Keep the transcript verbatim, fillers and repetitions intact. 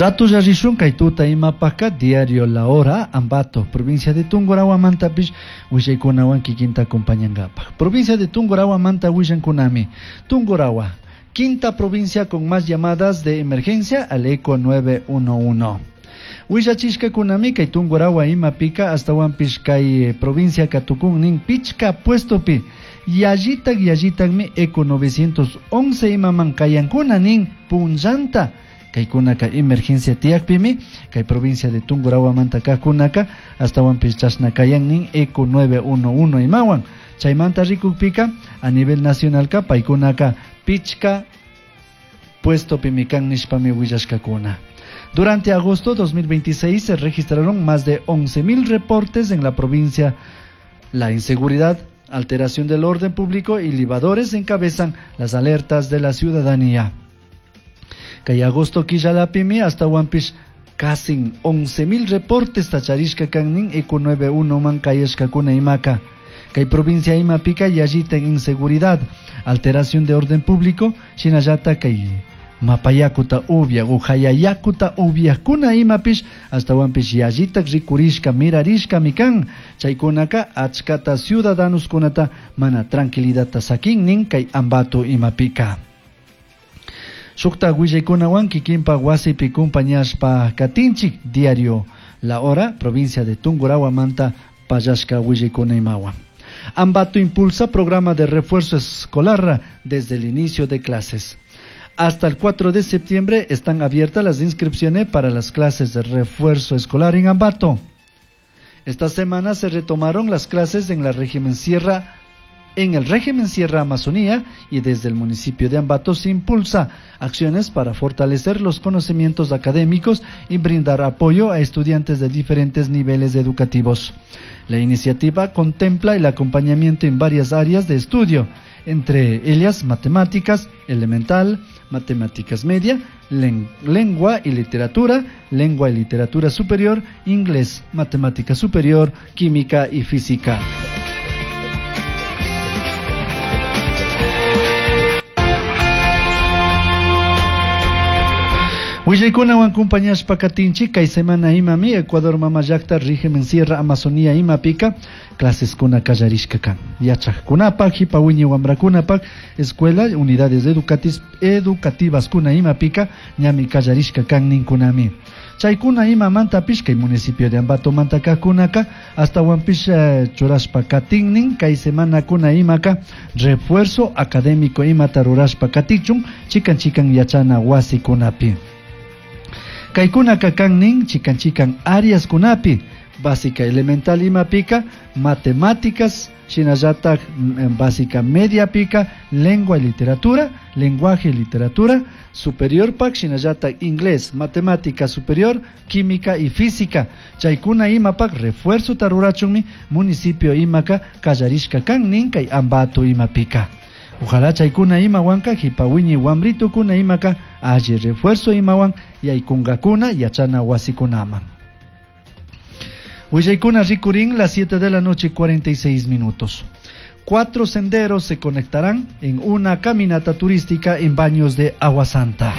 Ratulla rishun kay tuta imapaka diario La Hora, Ambato, provincia de Tungurahua mantapish willaykunawan kikinta acompañankapaj. Provincia de Tungurahua manta willankunami. Tungurahua, quinta provincia con más llamadas de emergencia al ECO nueve uno uno. Willachishkakunami kay Tungurahua imapika astawanpish kay provincia katukunnin pichka puestopi. Yallitak yallitakmi ECO novecientos once imaman kayankuna nin punllanta. Kaykunaka emergencia tiyakpimi kay provincia de Tungurahua manta kajkunaka astawanpish chashna kayan nin ECO nueve uno uno imawan. Chaymanta rikukpika a nivel nacionalka paykunaka pichka puestopimi kan nishpami willashkakuna. Durante agosto dos mil veintiséis se registraron más de once mil reportes en la provincia. La inseguridad, alteración del orden público y libadores encabezan las alertas de la ciudadanía. Kay agosto killalapimi hasta Huampish casi once mil reportes tacharishka kannin ECO nueve uno man kayashkakuna imaka. Kay provincia imapika yallita inseguridad, alteración de orden público, shinallata kay mapayakuta ubia, ujayayakuta ubiakuna imapish, hasta Huampish yallita rikurishka, mirarishka mikan, chaykunaka achkata ciudadanos kunata mana tranquilidad sakinnin kay Ambato imapika. Shukta willaykunawan kikinpa wasipi kumpañashpa katinchik diario La Hora, provincia de Tungurahua manta pallashka willaykuna imawan. Ambato impulsa programa de refuerzo escolar desde el inicio de clases. Hasta el cuatro de septiembre están abiertas las inscripciones para las clases de refuerzo escolar en Ambato. Esta semana se retomaron las clases en la régimen Sierra, en el régimen Sierra Amazonía, y desde el municipio de Ambato se impulsa acciones para fortalecer los conocimientos académicos y brindar apoyo a estudiantes de diferentes niveles educativos. La iniciativa contempla el acompañamiento en varias áreas de estudio, entre ellas matemáticas elemental, matemáticas media, len-, lengua y literatura, lengua y literatura superior, inglés, matemática superior, química y física. Willaykunawan kumpañashpa katinchik kay semana imami Ecuador mama llakta régimen Sierra Amazonía imapika claseskuna kallarishka kan. Yachaqkunapak, hipa wiñay wamrakunapak, escuela, unidades educatis, educativas kuna imapika ñami kallarishka kan ninkunami. Chaykuna imamantapish kay municipio de Ambato manta kajkunaka astawanpish, eh, churashpa katinnin kay semana kuna imaka refuerzo académico imata rurashpa katichun chikan chikan yachana wasikunapi. Kaykunaka kannin chikan chikan áreas kunapi, básica elemental imapika, matemáticas, shinallatak, mm, básica media pica, lengua y literatura, lenguaje y literatura, superior pak, shinallatak inglés, matemática superior, química y física. Chaykuna imapak refuerzo tarurachunmi municipio imaka kallarishka kannin kay Ambato imapika. Ojalá chaykuna imawanka hipawiñi wamritukuna imaka alli refuerzo imawan yaykunkakuna yachana wasikunaman. Willaykuna rikurin las siete de la noche cuarenta y seis minutos. Cuatro senderos se conectarán en una caminata turística en Baños de Agua Santa.